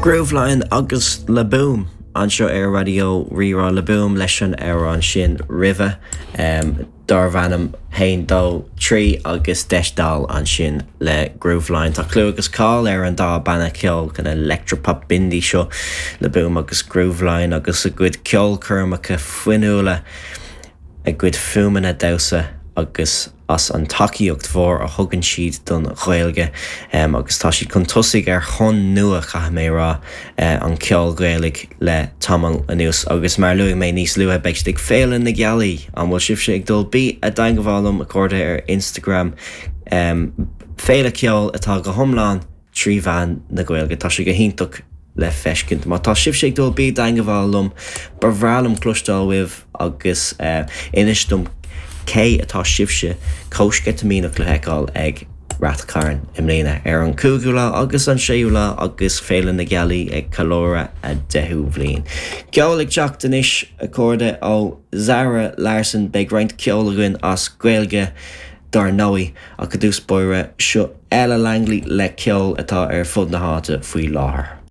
Grooveline agus Le Boom anseo ar Raidió Rí-Rá Le Boom leis an amhrán sin roimhe darbh ainm Haon Dó Trí agus Deis Dall ansin le Grooveline. Tá clú agus cáil ar an dá banna ceoil kind of electropop indie seo, Le Boom agus Grooveline agus a gcuid ceolchoirmeacha fuinniúla, a gcuid fuaimeanna damhsa agus. as an tacaíocht mhór a thugann siad don Ghaeilge agus tá siad chun tosaigh ar thonn nua, caithfidh mé a rá, an cheoil Ghaelaigh le tamall anuas agus mar a luaigh mé níos luaithe, beidh siad ag Féile na Gealaí! An bhfuil sibhse ag dul? Bí i dteangmháil liom, a chairde, ar Instagram. Féile ceoil atá go hiomlán 3 mheán na Gaeilge. Tá sé go hiontach le feiscint. Má tá sibhse ag dul, bí i dteangmháil liom. Ba bhreá liom cloisteáil uaibh agus inis dom cé atá sibhse chomh sceitimíneach le feiceáil ag Rath Cairn i mbliana ar an 5ú lá agus an 6ú lá agus Féile na Gealaí ag ceiliúradh a deichiú bhliain. Ceol ag teacht anois, a chairde, ó Zara Larsson. Beidh roinnt ceoil againn as Gaeilge dar ndóigh, ach i dtús báire, seo Ella Langley le ceol atá ar fud na háite faoi láthair.